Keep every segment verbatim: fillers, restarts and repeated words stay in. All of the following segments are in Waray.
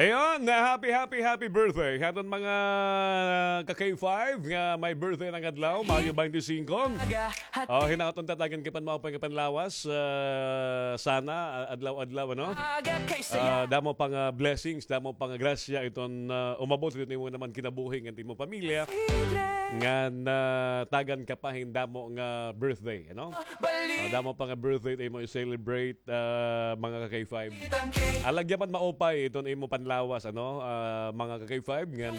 Ayun, happy, happy, happy birthday ha aton mga ka-K five nga may birthday ngada adlaw, Mayo twenty-five. O, hinaot unta tagan kay pan-, maupay nga panlawas, ah, sana, ah, adlaw-adlaw, ano? Ah, damo pa nga blessings, damo pa nga grasya iton, ah, umabot iton imo naman kinabuhi ngan imo pamilya. Ngan, ah, tagan ka pa hin damo nga birthday, ano? Ah, damo pa nga birthday it imo i-celebrate, ah, mga ka-K five. Alagya man maupay iton imo panlawas, ano, ah, mga ka-K five, ngan,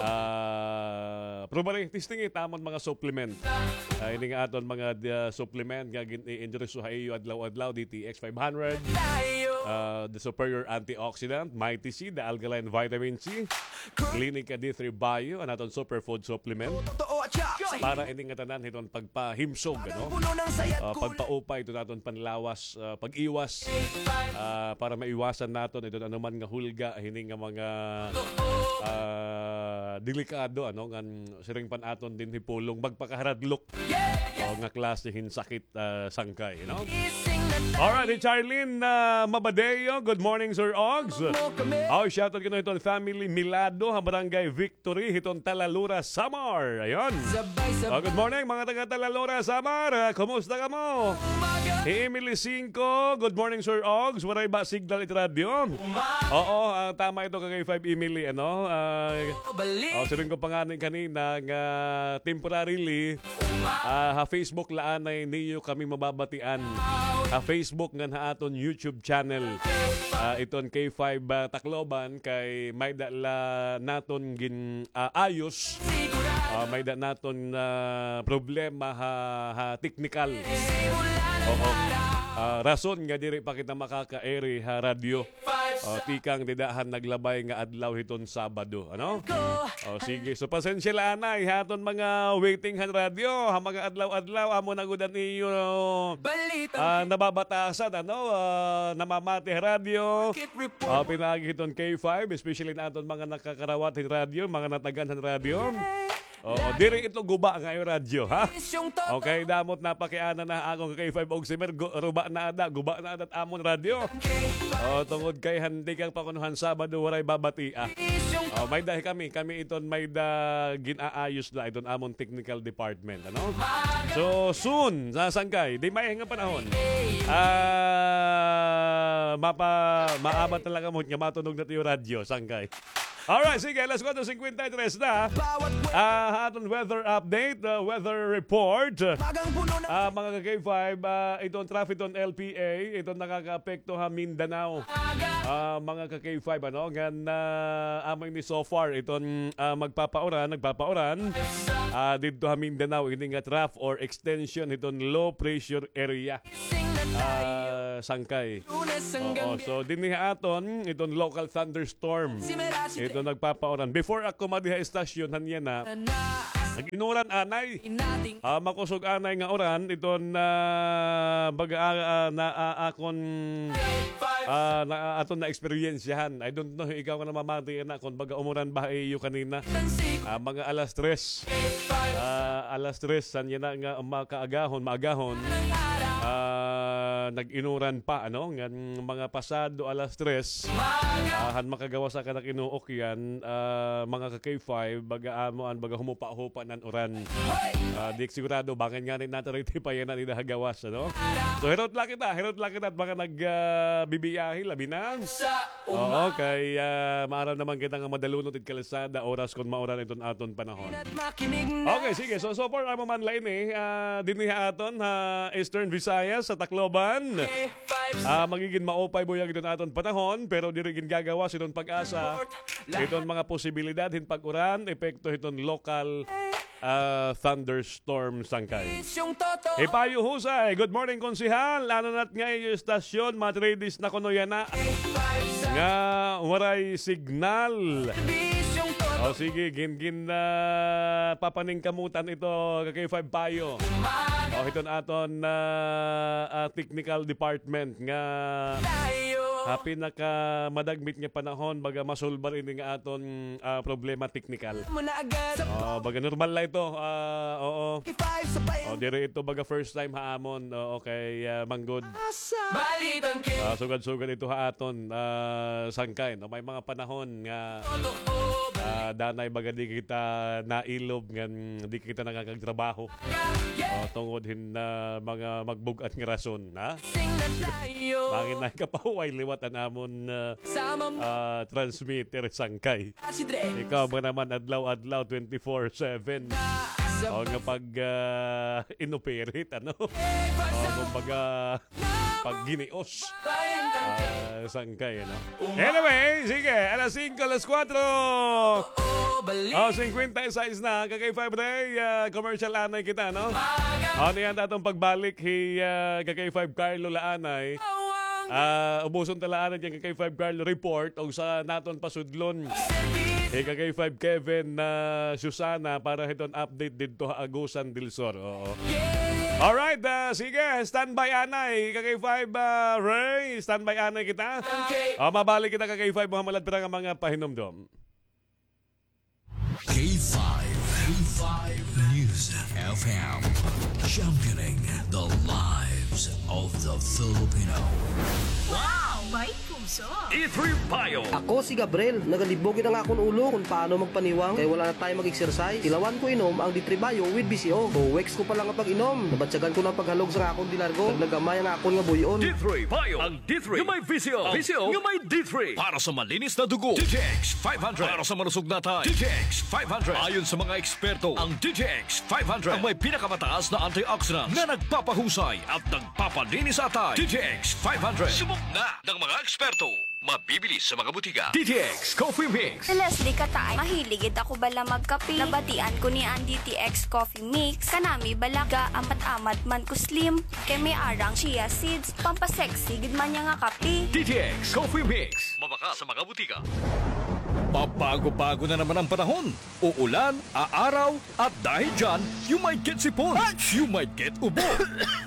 ah, probably, testing it amon mga supplement. Ah, ini nga aton mga, ah, supplement nga gin-i-endorse ha iyo adlaw-adlaw, D T X five hundred, ah, the superior antioxidant, Mighty C, the alkaline vitamin C, Clinica D three Bio, an aton superfood supplement. Para ini nga tanan hiton pagpahimsog, ano? Ah, pagpaupay iton aton panlawas, ah, pag-iwas, ah, para maiwasan naton iton anuman nga hulga hini nga mga, ah, delikado, ano, ngan siring pa an aton dinhi pulong magpakaharadlok. O, nga klase hin sakit, ah, sangkay, no? Alright, hi Charlene, ah, Mabadeo. Good morning, Sir Ogs. Aw, shoutout kuno hiton family Milado ha Barangay Victory hiton Talalora, Samar. Ayun. Oh, good morning, mga taga Talalora, Samar. Ah, kumusta kamo? Hi Emily Cinco, good morning, Sir Ogs. Waray ba signal it radyo? Oo, ah, tama ito, ka-K five Emily, ano? Ah, oh, siring ko pa ngani kanina nga temporarily, ah, ha Facebook la anay niyo kami mababatian. Ha Facebook ngan ha aton YouTube channel. Ah, iton K five, ah, Tacloban kay may-ada la naton gin-aayos. Ah, may-ada naton, ah, problema ha, ha technical. Oo. Ah, rason nga diri pa kita makaka-ere ha radyo. O, tikang dida han naglabay nga adlaw hiton Sabado, ano? O, sige. So, pasensya la anay ha aton mga waiting han radyo, ha mga adlaw-adlaw, amo na gud an iyo, ah, nababatasan, ano? Ah, namamati ha radyo. Ah, pinaagi hiton K five, especially na aton mga nakakarawat hin radyo, mga natagan han radyo. Oo, diri ito guba nga iyo radyo, ha? Okay, damo it napakiana na akon ka-K five og si Mer, gu-, ruba na ada, guba na ada it amon radyo. O, tungod kay handi kang pakuno han Sabado, waray babati, ah. O, may-ada kami, kami iton may-ada gin-aayos la iton amon technical department, ano? So, soon, sa sangkay, di may nga panahon. Ah, mapa-, maabat na la kamo nga matunog na it iyo radyo, sangkay. Alright, sige, alas kuwatro singkwenta y tres na. Ah, ha aton weather update, ah, weather report. Ah, mga ka-K five, ah, iton traffic iton L P A, iton nakakaapekto ha Mindanao. Ah, mga ka-K five, ano, ngan, ah, amo ini so far, iton, ah, magpapauran, nagpapauran. Ah, didto ha Mindanao, ini nga trough or extension iton low pressure area. Ah, sangkay. Oo, so dinhi ha aton, iton local thunderstorm. Iton nagpapauran. Before ako madi ha estasyon, han yana, nag-inuran anay. Ah, makusog anay nga uran, iton, ah, baga, ah, ah, na, ah, akon, ah, na, aton na-eksperyensyahan. I don't know, ikaw nga namamati yana, kon baga umuran ba ha iyo kanina. Ah, mga alas tres. Ah, alas tres, han yana nga makaagahon, maagahon. Ah, nag-inuran pa, ano? Ngan mga pasado alas tres, ah, han makagawas ha kanak inuok yana, ah, mga ka-K five, baga amo an, baga humupa-hupa na an uran. Ah, di sigurado, bangin ngani nata riti pa yana dida ha gawas, ano? So, hirot la kita, hirot la kita, mga nag, ah, bibiyahe, labi na. Oo, kay, ah, maaram naman kita nga madalunot it kalsada, oras kon mauran iton aton panahon. Okay, sige. So, so far, amo man la ini, ah, dinhi ha aton, ha Eastern Visayas, sa Tacloban. Ah, magigin maupay buyag iton aton panahon, pero diri gin gagawas iton PAGASA iton mga posibilidad hin pag-uran, epekto hiton local ah, thunderstorm sangkay. Hipayo Husay, good morning, Konsehal. Ano na it nga iyo estasyon, mga three days na kuno yana nga waray signal. O sige, gin-, gin-, ah, papaningkamutan ito, ka-K five Payo. O, hiton aton, ah, ah, technical department nga ha pinakamadagmit nga panahon, baga masulbar ini nga aton, ah, problema teknikal. Mo na agad. Ah, baga normal la ito. Ah, oo. Five sa pain. Oh, diri ito baga first time ha amon. Oo, kay, ah, manggod. Balitang ki- Ah, sugad-sugad ito ha aton, ah, sangkay, no? May mga panahon nga, ah, danay baga di kita nailob ngan di kita nakakagtrabaho. Oh, tungod hin, ah, mga magbug-at nga rason, ha? Sing na tayo. Mangin na kapahuway liwat an amon, ah, Sama mo. Ah, transmitter sangkay. Ikaw ba naman adlaw-adlaw, twenty-four seven? O nga pag, ah, inoperate, ano? O kumbaga, pag ginios. Ah, sangkay, ano? Anyway, sige, alas singko, alas kuwatro. O, singkwenta y seis na, ka K five Ray, ah, commercial anay kita, no? O, niyan atong pagbalik, hi, ah, ka K five Carlo la anay. Ah, ubuson ta la anay dyan ka K five Carlo report, og sa naton pasudlon. Ika K five Kevin, ah, Susana, para hiton update didto ha Agusan del Sur. Oo. Alright, ah, sige, standby anay. Ika K five, ah, Ray, standby anay kita. Ah, mabalik kita ka K five Muhammad Ladpira nga mga pahinumdom. K five, K five News F M, championing the lives of the Filipino. Wow! May puso! D three Bio. Ako si Gabriel. Nagalibog gid an akon ulo kon paano magpaniwang kay wala na time mag-exercise. Tilawan ko inom ang D three Bio with V C O. Two weeks ko pa lang nga pag-inom, nabatyagan ko na ang paghalog sa akon dilargo. Naglagamay ang akon nga buy-on. D three Bio. Ang D three nga may V C O. V C O nga may D three. Para sa malinis na dugo, D T X five hundred. Para sa malusog na atay, D T X five hundred. Ayon sa mga eksperto, ang D T X five hundred ang may pinakamataas na antioxidants na nagpapahusay at nagpapalinis sa atay. D T X five hundred. Subok na ng mga eksperto. Mabibili sa mga butika. D T X Coffee Mix. Si Leslie Kataay, mahilig gid ako bala magkape. Nabatian ko ni an D T X Coffee Mix, kanami bala gaamat-amat man ko slim, kay may arang chia seeds, pampasexy gid man niya nga kape. D T X Coffee Mix. Mabaka sa mga butika. Pabago-bago na naman ang panahon. Uulan, aaraw, at dahil dyan, you might get sipon, you might get ubo,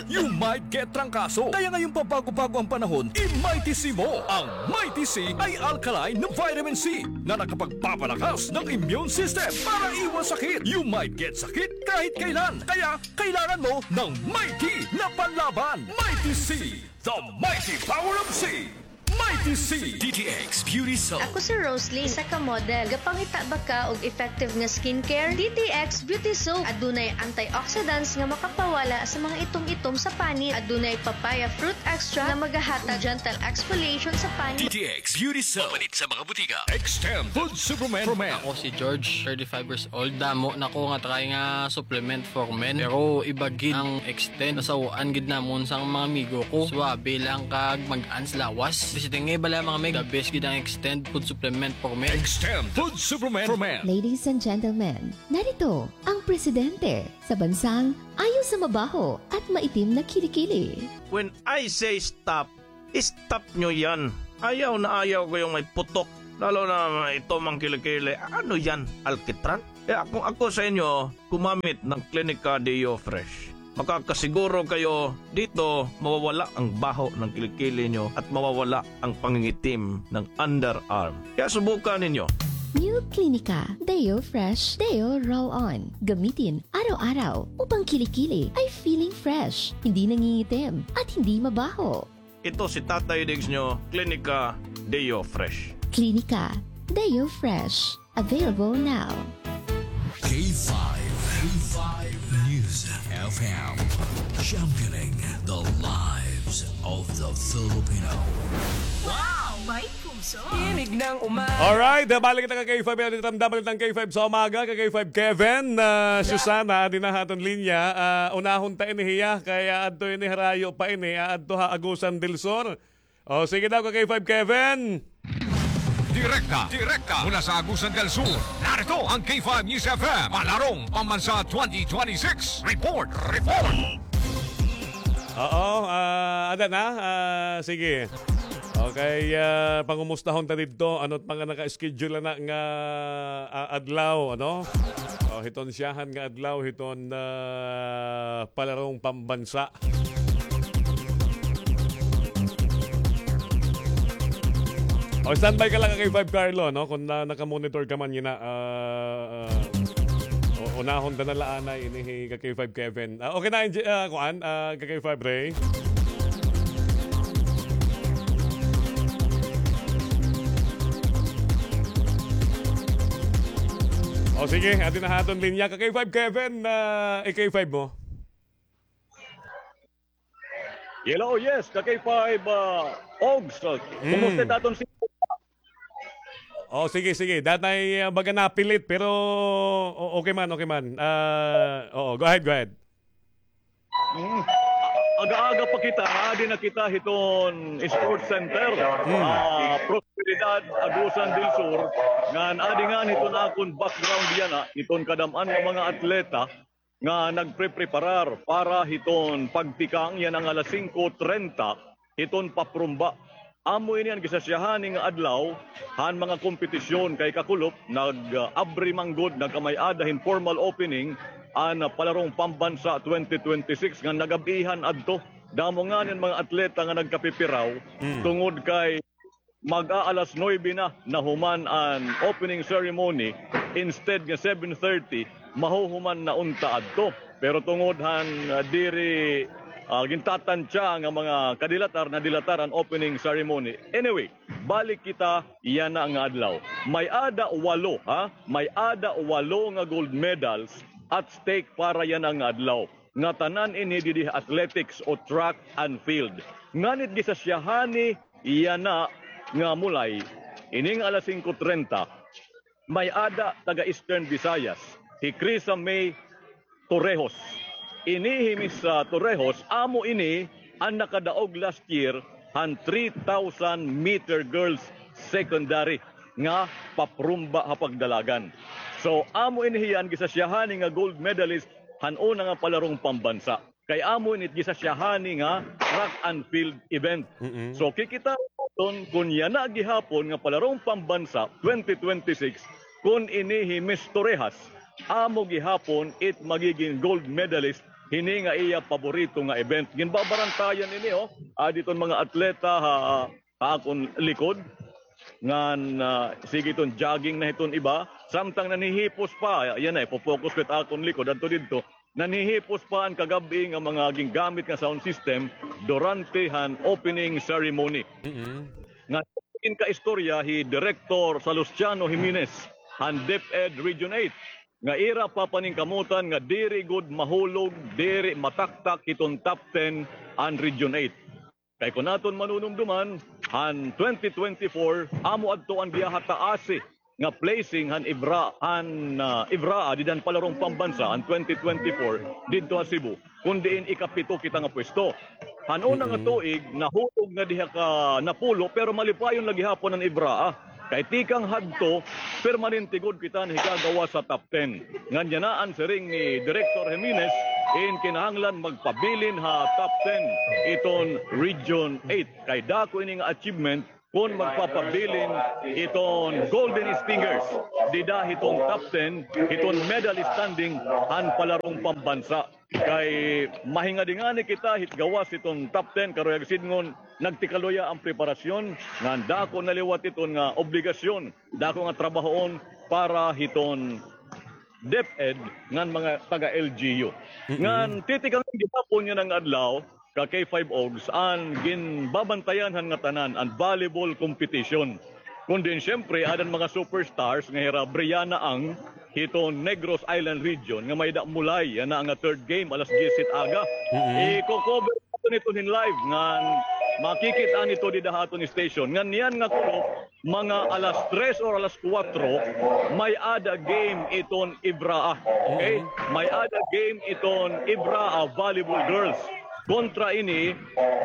you might get trangkaso. Kaya ngayong pabago-bago ang panahon, i-Mighty C mo. Ang Mighty C ay alkaline na vitamin C na nakapagpapalakas ng immune system para iwas sakit. You might get sakit kahit kailan. Kaya kailangan mo ng Mighty na panlaban. Mighty C, the mighty power of C. Mighty C. D T X Beauty Soap. Ako si Roslyn, isa ka model. Gapangita ba ka og effective nga skincare? D T X Beauty Soap. Adunay antioxidants nga makapawala sa mga itom-itom sa panit. Adunay papaya fruit extract nga magahatag gentle exfoliation sa panit. D T X Beauty Soap. Mapalit sa mga butika. Extend Food Supplement for Men. Ako si George, thirty-five years old. Damo na ko nga try nga supplement for men. Pero iba gid ang Extend. Nasaw-an gid namon sang mga amigo ko. Suabe lang kag mag-ans lawas. Bisi tingay bala, mga mig, the best gid ang Extend food supplement for men. Extend food supplement for men. Ladies and gentlemen, narito ang presidente sa bansang ayaw sa mabaho at maitim na kilikili. When I say stop, stop nyo yan. Ayaw na ayaw ko yung may putok. Lalo na ito, mga kilikili. Ano yan? Alkitran? Kaya kung ako sa inyo, gumamit ng Clinica Deo Fresh. Makakasiguro kayo dito mawawala ang baho ng kilikili nyo at mawawala ang pangingitim ng underarm. Kaya subukan ninyo. New Clinica Deo Fresh Deo Roll On. Gamitin araw-araw upang kilikili ay feeling fresh, hindi nangingitim, at hindi mabaho. Ito si Tatay Diggs nyo, Clinica Deo Fresh. Clinica Deo Fresh. Available now. K five, K five News F M. Championing the lives of the Filipino. Wow! May puso! Tinig ng umaga. Alright, balik kita ka K five, Elite Ramdam, Balitang K five sa umaga, ka K five Kevin, ah, Susana, adi na ha aton linya. Ah, unahon ta ini hiya, kay aadto ini harayo pa ini, aadto ha Agusan del Sur. O, sige daw, ka K five Kevin. Direkta, direkta mula sa Agusan del Sur. Narito ang K five News F M, Palarong Pambansa twenty twenty-six. Report, report. Oo, ah, ada na. Ah, sige. Okay, ah, pangumustahon ta didto. Ano't mga naka-schedule na nga, ah, adlaw, ano? O, hiton siyahan nga adlaw, hiton, ah, Palarong Pambansa. O, standby ka lang, ka K five Carlo, no? Kung na, naka-monitor ka man, yana, ah, ah, o, unahon ta na la anay ini hi ka K five Kevin. Ah, okay na, Engi-, ah, kuan, ah, ka K five Ray. O, sige, adi na ha aton linya. Ka K five Kevin, ah, i-K five mo. Hello, yes, ka K five, ah, Ogs. Mm. Kumusta it aton si- O, sige, sige. Danay, ah, baga napilit, pero o-, okay man, okay man. Ah, oo, go ahead, go ahead. Mm. Aga-aga pa kita, adi na kita hiton Sports Center. Mm. Ah, Prosperidad, Agusan del Sur. Ngan adi ngani hiton akon background yana, hiton kadam-an nga mga atleta nga nagprepreparar para hiton pagtikang yana nga alas singko trenta hiton paprumba. Amo ini an gisasyahani nga adlaw han mga kompetisyon kay kakulop nag-abri man gud, nagkamay-ada hin formal opening an Palarong Pambansa twenty twenty-six nga nag-ab-ihan adto. Damo ngani an mga atleta nga nagkapipiraw Mm. tungod kay mag-aalas nuebe na nahuman an opening ceremony, instead nga seven thirty, mahuhuman na unta adto. Pero tungod han, ah, diri, ah, gintatantya nga mga kadilatar, nadilatar an opening ceremony. Anyway, balik kita yana nga adlaw. May-ada walo, ha? May-ada walo nga gold medals at stake para yana nga adlaw. Nga tanan ini didi ha athletics o track and field. Nganit gisasyahani yana nga mulay, ini nga alas singko trenta, may-ada taga Eastern Visayas, hi Krisa May Torrejos. Ini hi Miss, ah, Torrejos, amo ini an nakadaog last year han three thousand meter girls secondary nga paprumba ha pagdalagan. So, amo ini hiya an gisasyahani nga gold medalist han una nga palarong pambansa. Kay amo ini it gisasyahani nga track and field event. Mm-mm. So, kikita naton kun yana gihapon nga palarong pambansa twenty twenty-six, kun ini hi Miss Torrejos, amo gihapon it magiging gold medalist hini nga iya paborito nga event. Ginbabarantayan ini, oh. Adi iton mga atleta ha, ha akon likod. Ngan, ah, sige iton jogging na hiton iba. Samtang nanhihipos pa, yana, ipo-focus ko it akon likod, adto didto. Nanhihipos pa an kagab-i nga mga gingamit nga sound system durante han opening ceremony. Mm-mm. Nga ginkaistorya hi Director Salustiano Jimenez han DepEd Region eight, nga ira papaningkamutan nga diri gud mahulog, diri mataktak hiton top ten an Region eight. Kay kun aton manunumduman, han twenty twenty-four, amo adto an giyahataasi nga placing han IVRA, han, ah, IVRA, dida han palarong pambansa, han twenty twenty-four, didto ha Cebu, kun diin ikapito kita nga pwesto. Han una nga tuig, nahulog na diha ka napulo, pero malipayon la gihapon an IVRA, ah. Kay tikang hadto, permanente gud kita nahigagawas ha top ten. Ngan yana an siring ni Director Jimenez, in kinahanglan magpabilin ha top ten iton Region eight. Kay dako ini nga achievement kun magpapabilin iton Golden Stingers dida hiton top ten, hiton medal standing han palarong pambansa. Kay mahingadi ngani kita hit gawas hiton top ten, karuyag sidngon, nagtikaluya an preparasyon, ngan dako na liwat iton nga obligasyon, dako nga trabahoon para hiton DepEd ngan mga taga-L G U. Mm-mm. Ngan titikangan gihapon yana nga adlaw, ka K five Ogs, an ginbabantayan han ngatanan, an volleyball competition. Kun diin, siyempre, ada an mga superstars nga hira Brianna Ang hiton Negros Island Region nga may-ada mulay yana nga third game, alas diyes hit aga. Mm-mm. Iko-cover naton ito hin live ngan makikit-an ito dida ha aton station. Ngan yana nga kulop, mga alas tres or alas kuwatro, may-ada game iton IVRA. Okay? Mm-mm. May-ada game iton IVRA volleyball girls kontra ini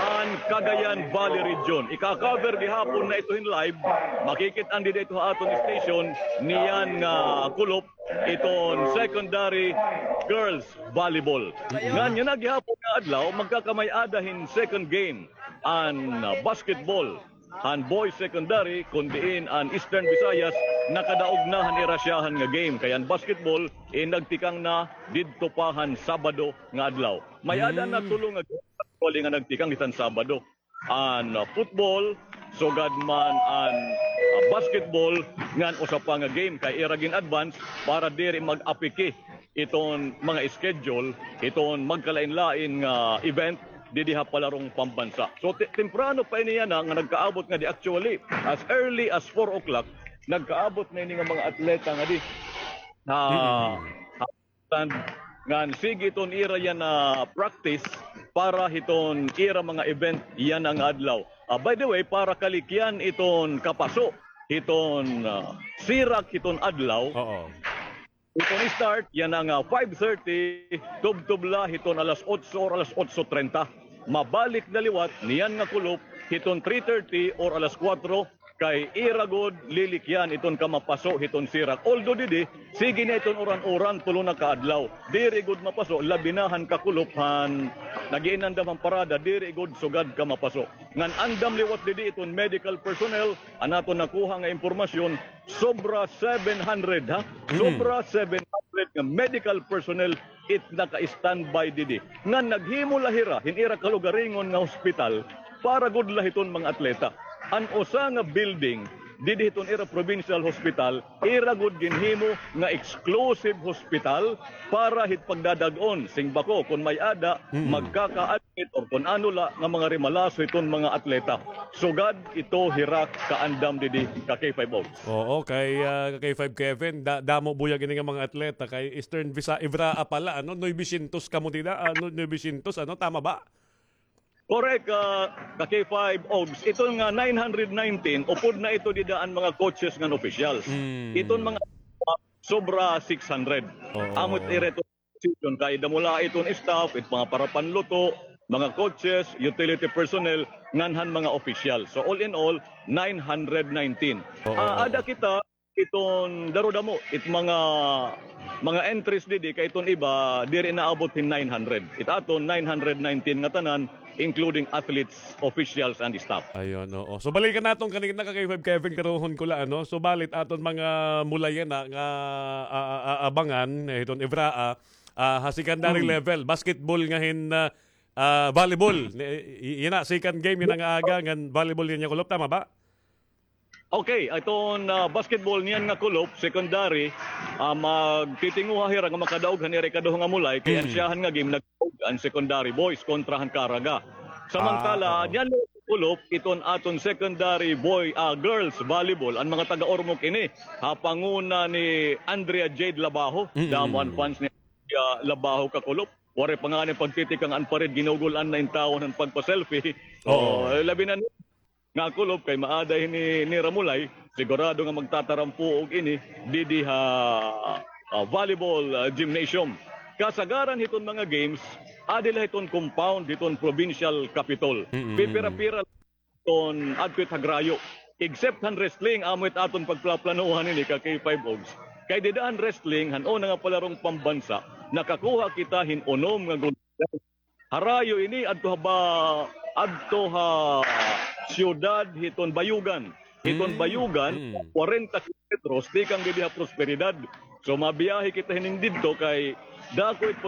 han Cagayan Valley Region. Ika-cover gihapon na ito hin live. Makikit-an dida ito ha aton station niyan nga kulop iton secondary girls volleyball. Ngan yana gihapon nga adlaw, magkakamay-ada hin second game an, ah, basketball han boys secondary, kun diin an Eastern Visayas nakadaog na han ira syahan nga game. Kay an basketball, eh, nagtikang na didto pa han Sabado nga adlaw. May-ada na tulo nga game actually nga nagtikang hiton Sabado. An, uh, football, sugad man an, ah, basketball ngan usa pa nga game kay ira gin-advance para diri mag-apiki iton mga schedule, iton magkalain-lain nga event didi ha palarong pambansa. So, ti-, temprano pa ini yana nga nagkaabot ngadi, actually, as early as four o'clock, nagkaabot na ini nga mga atleta ngadi. Ha, Mm. ha, tan-, ngan sige iton ira yana practice para hiton ira mga event yana nga adlaw. Ah, by the way, para kalikyan iton kapaso hiton, ah, sirak hiton adlaw. Oo. Iton start yana nga five thirty, tubtob la hiton alas otso or alas otso treinta. Mabalik na liwat niyan nga kulop hiton three thirty or alas kuwatro, kay ira gud lilikyan iton kamapaso hiton sirak. Although didi, sige na iton uran-uran, tulo na ka adlaw. Diri gud mapaso, labi na han kakulop han nag-iinandam han parada, diri gud sugad kamapaso. Ngan andam liwat didi iton medical personnel, an aton nakuha nga impormasyon, sobra seven hundred, ha? Mm. Sobra seven hundred nga medical personnel it naka-standby didi. Ngan naghimo la hira hin ira kalugaringon nga hospital para gud la hiton mga atleta. An usa nga building didi hiton ira provincial hospital, ira gud ginhimo nga exclusive hospital para hit pagdadag-on sing bako kon may-ada, Mm. magkaka- or kon ano la nga mga rimalaso hiton mga atleta. Sugad ito hira kaandam didi ka K five Ogs. Oo, kay, ah, ka K five Kevin, da-, damo buyag ini nga mga atleta kay Eastern Visa-, Evraa pala, ano, novecientos kamo dida, ano, novecientos, ano, tama ba? Correct, ah, ka K five Ogs. Ito nga nine hundred nineteen, upod na ito dida an mga coaches ngan officials. Mm. Iton mga sobra six hundred. Oo. Amo it ira position kay damo la iton staff, it mga parapanluto, mga coaches, utility personnel, ngan han mga official. So all in all, nine hundred nineteen. Oo, Ah, oo. ada kita iton darudamo, it mga, mga entries didi kay iton iba diri naabot hin nine hundred. It aton nine hundred nineteen nga tanan, including athletes, officials, and staff. Ayun, oo. So, balikan naton kanina ka K five Kevin, karuhon ko la, ano? So, balit aton mga mulayan na nga, ah, ah, ah, abangan, eh, hiton Evraa, ah, ha secondary Mm. level, basketball nga hin, ah, ah, volleyball. Ni-, y-, yana, second game yana nga aga, ngan volleyball yana kulop, tama ba? Okay, iton, ah, basketball niyan nga kulop, secondary, ah, magtitinguha hira nga makadaog han ira ikaduha nga mulay, kay an Mm. siyahan nga game nag-, an secondary boys kontra han Caraga. Samantala, Ah, oo. niyan kulop iton aton secondary boy, ah, girls volleyball, an mga taga-Ormoc ini, ha panguna ni Andrea Jade Labajo. Mm. Damo an fans ni Andrea Labajo ka kulop. Waray pa ngani pagtitikang an pared, ginugul-an na in tawon han pagpa-selfie. Oo. So, eh, labi na ni nga kulop kay maaday ni, ni Ramulay, sigurado nga magtatarampuog ini didi ha, ah, volleyball, ah, gymnasium. Kasagaran hiton mga games, adi la hiton compound hiton provincial capitol. Mm, mm, mm. Pipira-pira hiton adto it hagrayo. Except han wrestling, amo it aton pagplaplanuhan ini ka K five Ogs. Kay dida han wrestling, han una nga palarong pambansa, nakakuha kita hin unom nga gold medal. Harayo ini adto ha ba-, adto ha siyudad hiton Bayugan. Hiton Mm, Bayugan, mm. kwarenta kilometros tikang didi ha Prosperidad. So, mabiyahe kita hinin didto kay dako it